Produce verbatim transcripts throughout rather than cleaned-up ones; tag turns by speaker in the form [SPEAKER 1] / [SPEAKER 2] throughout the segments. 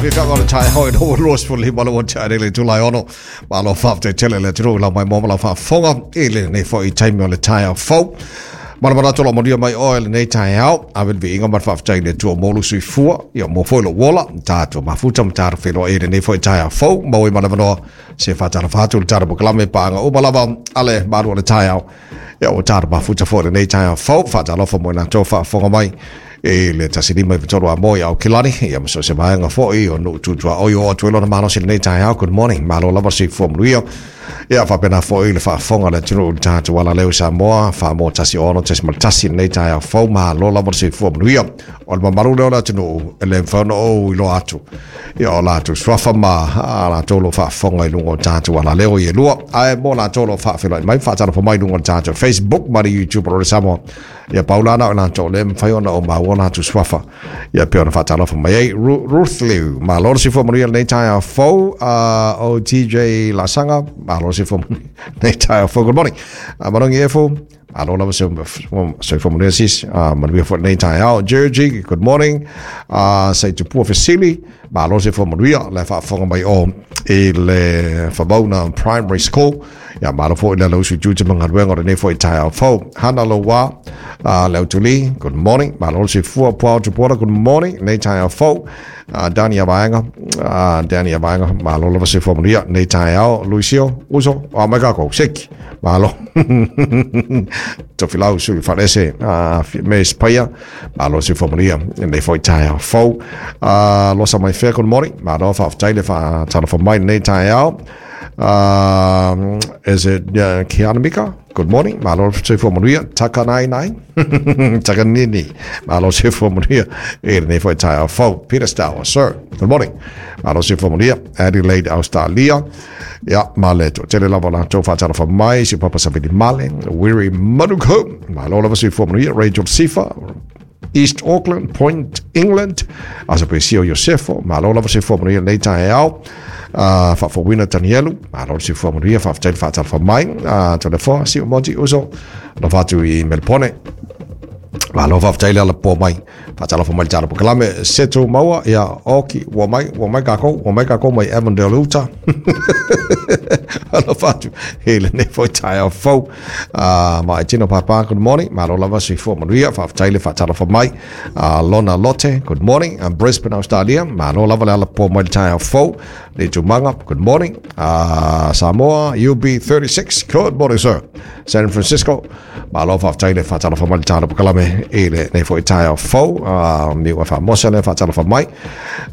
[SPEAKER 1] Mafiafiaga o le taeao i lou lua sefulu lima le ua tea nei le itula e ono. Malo faafetai tele le atunuu i lau maimoa ma lau faafofoga i lenei foi taimi o le taeao fou. Ma le manatu o lo o manuia mai oe lenei taeao, ave le viiga ma le faafetai i le Atua mo lou soifua, ia mo foi lou ola, tatou mafuta ma tatou feiloai i lenei foi taeao fou, maua ai ma le avanoa se faatalofa atu i le tatou polokalame paaga uma lava a le malu o le taeao. Ia ua tatou mafuta foi i lenei taeao fou, faatalofa mo i latou faafofoga mai i le tasi lima iva tolu Amoa i Aukilani, ia ma so o se vaega foi o nuu tu tuaoi o oo atu ai lona malosi i lenei taeao. Good morning, malo lava le soifua manuia. Ia faapena foi le faafofoga a le atunuu i le tatou alaleo i Samoa, Famoa tasi ono tasi tasi i lenei taeao fou, malo lava le soifua manuia. O le mamalu lea o le atunuu e le mafai ona ou iloa atu. Ia o latou suafa ma a latou o lo o faafofoga i luga o tatou alaleo i e lua. Ae mo latou o lo o faafeiloai mai, faatalofa mai i luga o le tatou Facebook ma le YouTube o le Samoa. Ia pau la na o latou le mafai ona o maua latou suafa. Ia pei ona faatalofa mai ai. Ruth Liu, malo le soifua manuia lenei taeao fou. Uh, o T J Lasanga, malo le soifua manuia lenei taeao fou. Good morning. Uh, Manongi Efo, malo lava soifua manuia sis. Uh, manuia foi lenei taeao. Georgie, good morning. Uh, Saitupua Fesili, malo le soifua manuia le faafofoga mai o i le Famauna Primary School. Ia malo foi le lausu jute mangaluega o lenei foi taeao fou. Hana Loa, uh, Leutuli, good morning. Malo le soifua. Puao Tupuola, good morning. Lenei taeao fou. Uh, Dani Avaenga, uh, Dani Avaenga, malo lava soifua manuia lenei taeao. Luisio, uso, o mai kākou, seki, malo. Tofilau sui whalese, uh, me spaia, malo soifua manuia lenei foi taeao fou. Uh, Losa mai whea, good morning. Malo faafetai le faatalofa mai lenei taeao. Um, is it uh, Kiana Mika? Good morning. Malo soifua manuia. Taka nai nai. Taka nini. Malo soifua manuia. E lenei foi taeao fou. Peter Stower, sir. Good morning. Malo soifua manuia. Adelaide, Australia. Ia, ma le to tele lava latou faatalofa mai. Si Papa Savili Male. Weary Manuko. Malo lava soifua manuia. Rachel Sifa. East Auckland, Point England. Asa Pesio Iosefo. Malo lava soifua manuia lenei taeao. Uh, Faafouina Danielu, malo le soifua manuia, faafetai le faatalofa mai. Uh, Tolefoa, si o Monty Uso, alofa atu i Melpone. Malo faafetai le alapoa mai, faatalofa mai le tala polokalame. Seto Maua, ia oki, ua mai, ua mai kākou, ua mai kākou mai Avondale uta. Alofa atu i lenei foi taeao fou. Uh, ma e tino papa, good morning. Malo lava soifua manuia, faafetai le faatalofa mai. Uh, Lona Lotte, good morning. Um, Brisbane, Australia, malo lava le alapoa mai le taeao fou. Le Tumanga, good morning. Uh, Samoa, U B thirty-six, good morning, sir. San Francisco, malo faafetai le faatalofa mai le tala polokalame i lenei foi taeao fou. Uh, Niu e faamosa le faatalofa mai.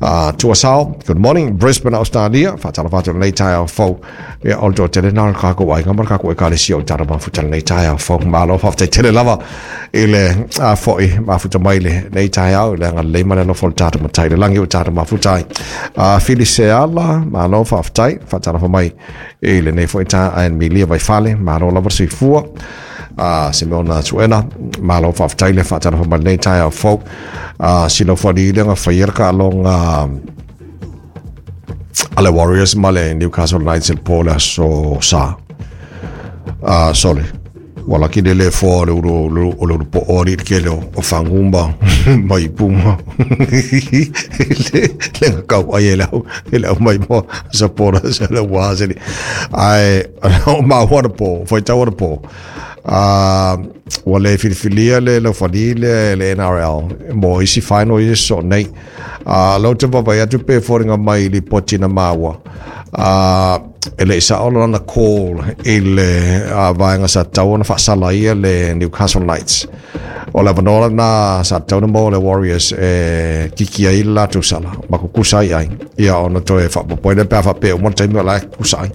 [SPEAKER 1] Uh, Tuasao, good morning. Brisbane, Australia, faatalofa atu lenei taeao fou. Ia, o le toa tele nā le kākou aiga ma le kākou ekalesia o tara mafuta lenei taeao fou. Malo faafetai tele lava i le uh, foi mafuta mai lenei taeao, i le agalelei ma le alofa o le tatou matai le langi o tatou mafuta ai. Uh, Filiseala, malo faafetai, faatalofa mai i lenei foi taeao. Milia Vaifale, malo lava soifua. Uh, Simeona Tuena, malo faafetai le faatalofa mai lenei taeao fou. Uh, Silofani le nga whaiera ka alonga ale Warriors ma le Newcastle Knights el po le aso sa. Uh, sole. Wala ki le le fo le uro o le uro po ori ke le o whangumba mai puma. Le le nga kau ai e le au e le au mai mo sapora se le wā se li. Ai o ma wana po, whai tau wana po. Uh, ua le filifilia le laufali le, le N R L mo isi final i so nei. Uh, lau te vavai atu pe fōringa mai li poti na maua. Uh, e le isa ola na call i le uh, vaenga sa tau na whaasala ia le Newcastle Knights. O le avanoa na sa tau na mo le Warriors e kiki ai le latou sala. Makukusa ai ai. Ia ona toe whaapopoi le pea whapea umana taimi o la kusa ai.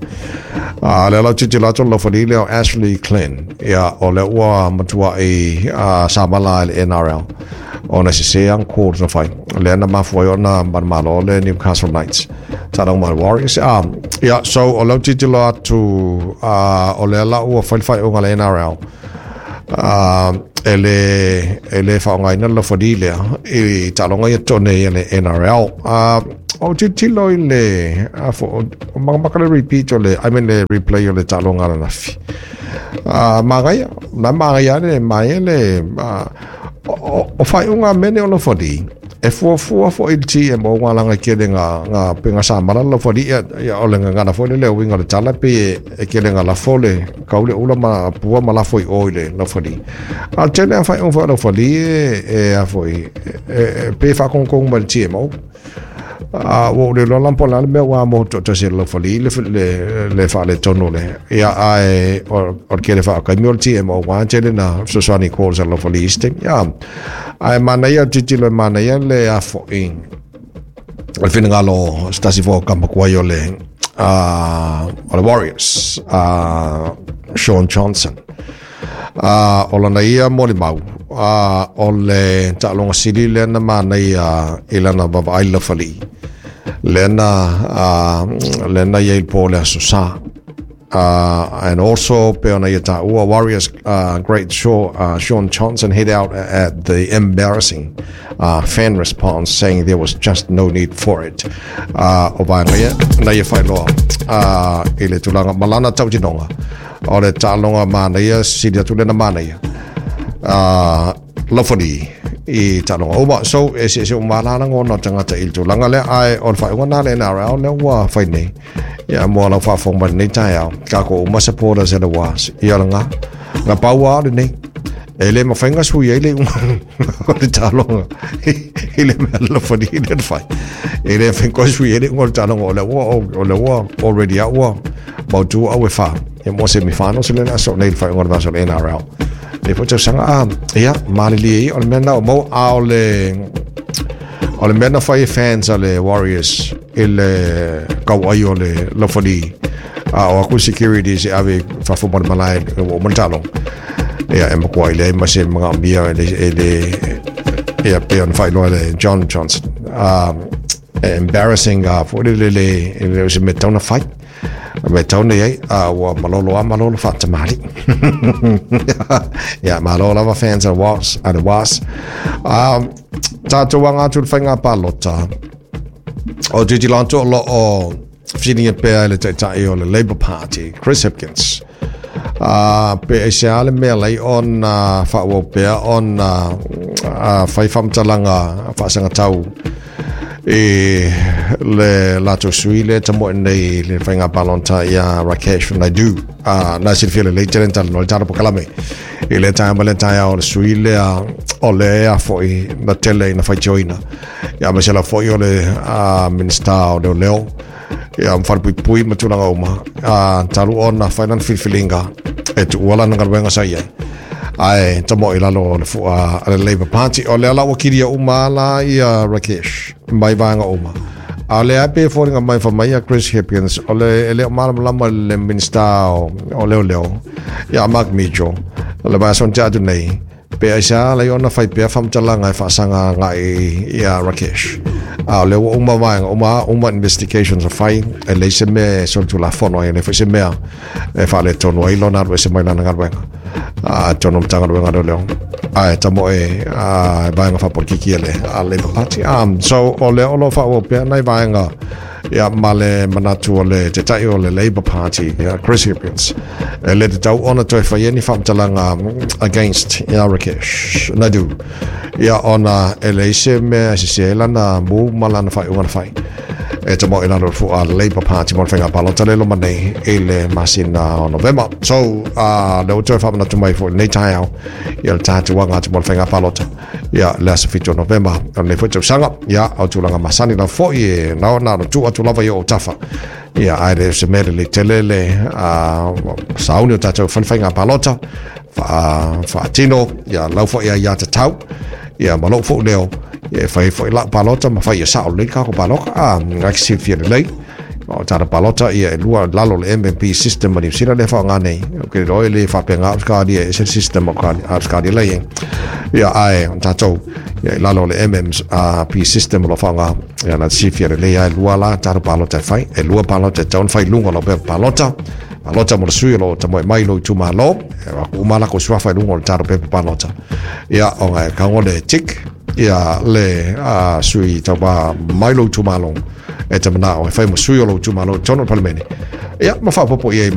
[SPEAKER 1] Uh, le lau titi latou laufali le o Ashley Klein. Ia o le ua matua i uh, Samala i le N R L. Ona se se ang call na whai. Le ana mafua i ona manamalo le Newcastle Knights. Tala uma Warriors. Um, ia, so o lau titi lo atu uh, o le ala ua whai whai unga le N R L. Uh, e le, e le whaongaina la whadi lea i talonga ia tone i le N R L. Uh, o titilo i le, uh, fo, o makamaka le repeat o le, I mean le replay o le talonga la nafi. Uh, mangaia, na mangaia le, mai le, uh, o, o whai unga mene o la whadi, E fuafua foʻi le T M O galaga kele ga ga pega sa mala la fali ia o le ngana foi le winga le tala pe e kele ga la fole kaule ula ma pua ma la foi o ile la fali a tele fa on fa la fali e a foi e pe fa kon kon ma le T M O a o le lola po la me wa mo to to se la fali le le le fa le tono le ia a e o o kele fa ka mi o T M O wa tele na so so ni calls la fali ste ia ai mana ia titilo mana ia le a fo in o finngalo stasi fo kampa kwa yo le a o le Warriors a Shaun Johnson a o lana ia mo le mau a o le taaloga sili lea na manaia i lana vavaai la falii lea na lea na ia i le po le aso sa. Uh, and also pe ona ia taua Warriors uh, great show, uh, Shaun Johnson hit out at the embarrassing uh, fan response saying there was just no need for it. Uh, o vaega ia na ia failoa uh, i le tulaga malana tautinoga o le taaloga manaia sili atu lena manaia uh, lafali i taaloga uma. So e se se umalala ngona tagata i le tulaga lea ae o le faaiuga na le N R L lea ua fai nei ia mo lau faafofoga mai lenei taeao kako uma supporters e le was ia laga ga paua o lenei e le mafaiga sui ai le iuga o le taaloga i le mea lafali i le fai e le fai sui ai le iuga o le taaloga o le ua o le ua already a ua mautu au e fā ia mo semifinals le aso nei le faaiuga o le vasa o le N R L le foi tausaga a ia malilie o le mea na o mau a o le o le mea na fai e fans a le Warriors i le kauai o le lafali a o aku security se ave fafo mo le malae o mo le taaloga ia e makua i le ma se magaomia e le e le ia pe ona faailoa le John Johnson um, embarrassing a foi le le le se mea tauna fai me tau nei ai a ua malolo a malolo faatamali ia malo lava fans a was a the was um tatou aga atu le faiga palota o titilanto o loo fesiligia pea i le taitaʻi o le Labour Party Chris Hipkins a pe e se ale mea lai ona faaauau pea ona fai faamatalaga faasagatau e le latou sui le tamoe nei le faiga palota ia Rakesh Naidu a na silafia lelei tele talanoa le tala pokalame i le taea ma le taeao o le sui lea o le a foʻi na tele ina faitioina ia ma se la foʻi o le minista o leoleo ia mafalepuipui ma tulaga uma a talu ona fai lana filifiliga e tuua lana galuega sa iai ae tamoe lalo o le fua a le Labour Party o lea la ua kilia uma la ia Rakesh mai vaega uma a o lea pe foliga mai famai ia Chris Hipkins o le e le o malamalama le minista o, o leoleo ia Mark Mitchell o le vaiaso tea atu nei pe aisa lai ona fai pea faamatalaga e faasaga agai ia Rakesh a o lea ua uma vaega uma uma investigations a fai e leai se mea e solitulafono ai e le foi se mea e faaletonu ai lona alu ese mai lana galuega a tono matagaluega leoleo ae tamoe a vaega faapolikiki e le a Labour Party um, so o lea o loo faaauau pea nai vaega ia ma le manatu o le tetaʻi o le Labour Party ia Chris Hipkins e le tatau ona toe faia ni faamatalaga against ia Rakesh Naidu ia ona e leai se mea e sese ai lana mu ma lana faaiuga na fai e tamoe lalo fua Labour Party mo le faiga palota le loma nei i le masina o Novema. So uh, le ua toe faamanatu mai foʻi lenei taeao ia le tatuaga atu mo le faiga palota ia le aso fitu o Novema o lenei foi tausaga ia o tulaga masani lava foʻi e na ona ona tuu atu lava i oo tafa ia ae le se mea lelei tele le sauni o tatou fai le faiga palota faatino ia lau foʻi ai tatau ia ma lou foʻu leo e fai foi lau palota ma fai ia sao lelei kako paloka a ngai silafia lelei o tata palota ia e lua lalo le M M P system ma Niu Sila le faaaoga nei o ke iloa e le faapega Australia e ese le system o Australia lei ia ae o tatou ia i lalo le M M P system o lo faaaoga ia na silafia lelei ae lua la tata palota e fai e lua palota e tatau ona fai luga o lau pepa palota palota mo le sui o loo tamoe mai lou itumālō e uma lako suafa i luga o le tatou pepa palota ia ona e kago le tick ia le a sui tauva mai lou itumālō e te manao e fai mo sui o lou itumālō i totonu o le palemene ia ma faapopo i ai